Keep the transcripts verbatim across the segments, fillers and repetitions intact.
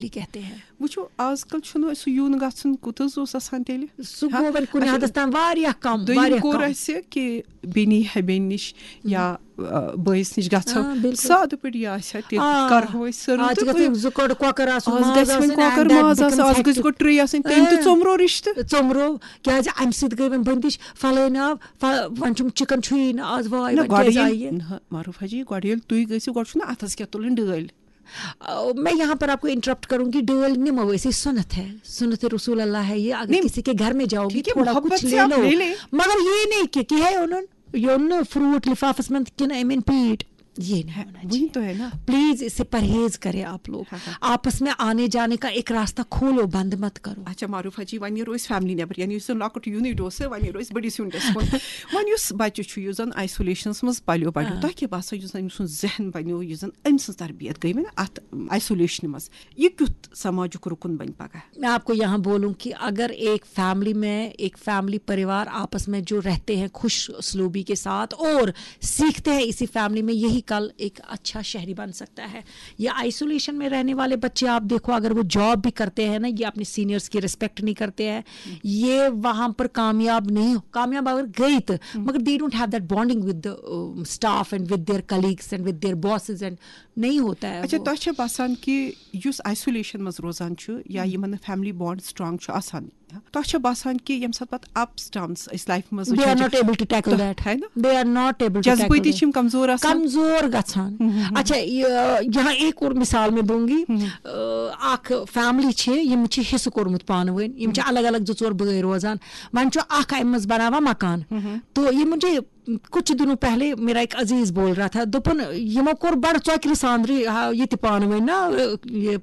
کہتے ہیں۔ وٕچھِو، آز کل چھُنہٕ سُہ یُن گژھُن کوٚت حظ اوس آسان تیٚلہِ۔ سُہ گوٚو وۄنۍ کُنہِ حدس تام واریاہ کم، دوٚیِم واریاہ کوٚر کم۔ اَسہِ کہِ بیٚنہِ ہیٚبیٚنۍ نِش یا آ، بٲیِس نِش گژھو، آ، بِلکُل۔ سادٕ پٲٹھۍ یہِ آسہِ ہا تہِ آ۔ کرہو أسۍ سٔرٕو آز چھِ تہٕ گژھان زٕ کۄڑ کۄکر آسُن، آز ماز گژھِ وۄنۍ آسُن، کۄکر and that ماز آسُن، آز becomes گژھِ گۄڈٕ hectic۔ ٹرٛے آسٕنۍ، تٔمۍ تہِ آ۔ ژوٚمرو رِشتہٕ۔ ژوٚمرو، کیازِ امہِ سۭتۍ گٔے وۄنۍ بندش، فلٲنۍ آو، ف-، وۄنۍ چھُم چکن چھُیی نہٕ آز، واے، نہ، وۄنۍ گۄڈٕ کیازِ آیہِ ییٚلہِ یہِ؟ نہ، معروف حاجی، گۄڈٕ ییٚلہِ تُہۍ گٔژھِو، گۄڈٕ چھُنہ اَتھس کیٛاہ تُلٕنۍ ڈٲلۍ۔ آ، میں یہاں پر آپ کو انٹرپٹ کروں گی، ڈٲلۍ نِمو أسۍ، یہِ سُنت ہے، سُنت رسول اللہ ہے یہ، اگر نہیں، کسی کے گھر میں جاؤ گی، ٹھیک ہے، تھوڑا محبت کچھ سے لے آپ لو، لے لیں۔ مگر یہ نہیں کہ کہِ ہے اوٚنُن، یہِ اوٚن نہٕ فروٹ لفافس منٛز کِنہٕ أمۍ أنۍ پیٖٹ، یہ نہیں ہونا وہی چاہیے۔ تو ہے نا۔ پلیز اس سے پرہیز کرے آپ لوگ، ہاں، ہاں۔ آپس میں آنے جانے کا ایک راستہ کھولو، بند مت کرو۔ اچھا معروف حاجی، وۄنۍ نیرو أسۍ فیملی نٮ۪بر، یعنی یُس زن لۄکُٹ یوٗنٹ اوس، وۄنۍ نیرو أسۍ بٔڑِس یوٗنٹس کُن۔ وۄنۍ یُس بچہِ چھُ، یُس زن آیسولیشنس منٛز پلیو بڑیو، آ۔ تۄہہِ کیٛاہ باسان، یُس زن أمۍ سُنٛد ذہن بنیو، یُس زن أمۍ سٕنٛز تربیت گٔے وۄنۍ اتھ آیسولیشنہِ منٛز، یہِ کیُتھ سماجُک رُکُن بنہِ پگاہ؟ میں آپ کو یہاں بولوں کہ اگر ایک فیملی میں، ایک فیملی پریوار آپس میں جو رہتے ہیں خوش اسلوبی کے ساتھ اور سیکھتے ہیں اسی فیملی میں، یہی کل ایک اچھا شہری بن سکتا ہے۔ یہ آئسولیشن میں رہنے والے بچے آپ دیکھو، اگر وہ جاب بھی کرتے ہیں نا، یہ اپنے سینئرز کی ریسپیکٹ نہیں کرتے ہیں، یہ وہاں پر کامیاب نہیں ہو، کامیاب اگر گئی تو، مگر they don't have that bonding with the staff and with their colleagues and with their bosses and نہیں ہوتا ہے اچھا، وہ۔ تۄہہِ چھا باسان کہِ یُس آیسولیشن منٛز روزان چھُ یا یِمن نہٕ فیملی بانڈ سٹرانگ چھُ آسان، تۄہہِ چھا باسان کہِ ییٚمہِ ساتہٕ پتہٕ اپس ڈاونس أسۍ لایفہِ منٛز They are وٕچھان not چھِ، able to tackle تۄہہِ that. ہے نا؟ They are not able to tackle جذبٲتی that. چھِ یِم کمزور آسان۔ کمزور گژھان۔ اچھا، یہ، یہاں ایک اور مثال میں دوں گی۔ آ، اکھ فیملی چھِ، یِم چھِ حصہٕ کوٚرمُت پانہٕ ؤنۍ، یِم چھِ الگ الگ زٕ ژور بٲے روزان۔ وۄنۍ چھُ اکھ امہِ منٛز بناوان مکان۔ تو یہ مجھے کچھ دنوں پہلے میرا ایک عزیز بول رہا تھا، دوٚپُن، یِمو کوٚر بڑٕ ژۄکرِ ساندرِ، ہا، یہِ تہِ پانہٕ ؤنۍ نا، یہِ،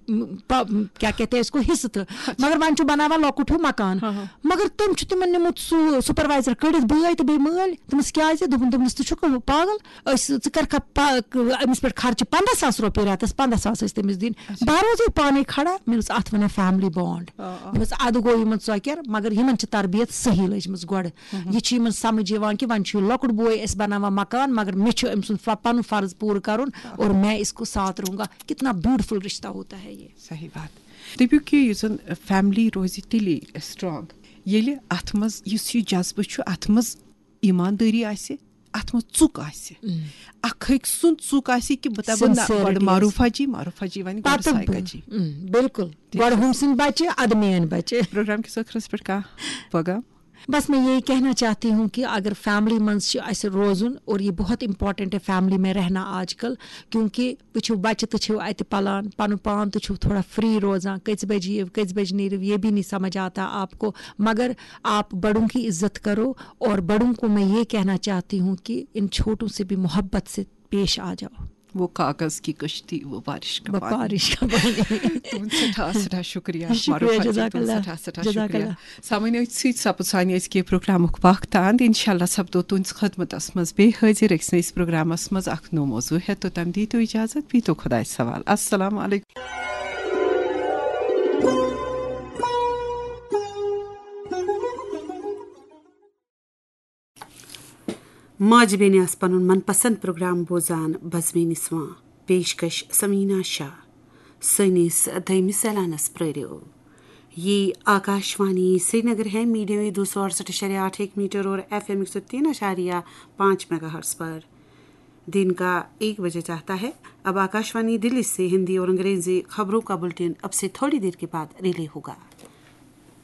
پ-، کیا کہتے ہیں اس کو، حصہٕ تہٕ، مگر وۄنۍ چھُ بناوان لۄکُٹ ہیوٗ مکان۔ مگر تٔمۍ چھُ تِمن نیوٗمُت سُہ سپروایزر کٔڑِتھ، بٲے تہٕ بیٚیہِ مٲلۍ۔ تٔمِس کیازِ؟ دوٚپُن، دوٚپمَس، ژٕ چھُکھ پاگل؟ أسۍ، ژٕ کر کھا پا-، أمِس پٮ۪ٹھ خرچہٕ پنٛداہ ساس رۄپیہِ رٮ۪تس، پنٛداہ ساس ٲسۍ تٔمِس دِنۍ۔ بہٕ روزے پانے کھڑا، مےٚ دوٚپُس، اتھ ونان فیملی بانڈ۔ مےٚ دوٚپُس، ادٕ گوٚو یِمن ژۄکٮ۪ر، مگر یِمن چھِ تربیت صحیح لٔجمٕژ گۄڈٕ۔ یہ چھُ یِمن سمجھ یِوان کہ وۄنۍ چھُ یہِ لۄکُٹ بوے اَسہِ بناوان مکان، مگر مےٚ چھُ أمۍ سُنٛد ف-، پنُن فرض پوٗرٕ کرُن اور میں اس کو ساتھ رہوں گا۔ کتنا بیوٹیفل رشتہ ہوتا ہے یہ۔ صحیح بات۔ دٔپِو کہِ یُس زن فیملی روزِ تیٚلی سٹرانگ، ییٚلہِ اتھ منٛز یُس یہِ جذبہٕ چھُ، اتھ منٛز ایٖماندٲری آسہِ، اتھ منٛز ژُک آسہِ۔ اکھ أکۍ سُنٛد ژُک آسہِ کہِ بہٕ دپہٕ نہ، Sincerity گۄڈٕ آسہِ۔ معروف حاجی، معروف حاجی ونہِ گۄڈٕ پتہٕ ساے بہٕ۔ کجی۔ اۭں، بالکل۔ گۄڈٕ ہُم سٕنٛدۍ بچہِ، ادٕ میٲنۍ بچہِ۔ پروگرام کِس ٲخرس پٮ۪ٹھ کانٛہہ پیغام؟ بس میں یہی کہنا چاہتی ہوں کہ اگر فیملی منٛز چھِ اَسہِ روزُن، اور یہ بہت امپورٹنٹ ہے فیملی میں رہنا آج کل، کیونکہ وٕچھِو، بچہِ تہِ چھِو اتہِ پلان، پنُن پان تہِ چھُو تھوڑا فری روزان، کٔژِ بجہِ یِیِو، کٔژِ بجہِ نیٖرِو، یہ بھی نہیں سمجھ آتا آپ کو، مگر آپ بڑوں کی عزت کرو، اور بڑوں کو میں یہ کہنا چاہتی ہوں کہ ان چھوٹوں سے بھی محبت سے پیش آ جاؤ۔ وہ کاغذ کی کشتی، وہ بارش کا وہ پانی۔ بارش کا پانی۔ تُہُنٛد سٮ۪ٹھاہ سٮ۪ٹھاہ شُکریہ، شُکریہ، معروف حاجی، جزاک تُہُنٛد اللہ۔ سٮ۪ٹھاہ سٮ۪ٹھاہ جزاک شُکریہ۔ اللہ۔ سامعیٖن، أتھۍ سۭتۍ سپُد سانہِ أزکہِ پروگرامُک وقت اند۔ انشاءاللہ سپدو تُہنٛدِس خدمتس منٛز بیٚیہِ حٲضِر أکِس نٔیِس پروگرامس منٛز اکھ نوٚو موضوع ہٮ۪تھ۔ توٚتام دیٖتو اجازت، بیٚہتو خۄدایس حوالہٕ۔ السلام علیکم۔ ماجہِ بیٚنہِ آسہٕ پنُن من پسند پروگرام بوزان بزمِ نسواں، پیشکش سمینا شاہ۔ سٲنِس دوٚیمِس اعلانس پرٛٲرِو۔ یہ آکاشوانی سرینگر ہے، میڈیم ویو دو سو اڑسٹھ اعشاریہ آٹھ ایک میٹر اور ایف ایم ایک سو تین اعشاریہ پانچ میگا ہرٹز پر۔ دن کا ایک بجے چاہتا ہے۔ اب آکاشوانی دلی سے ہندی اور انگریزی خبروں کا بلٹن اب سے تھوڑی دیر کے بعد ریلے ہوگا۔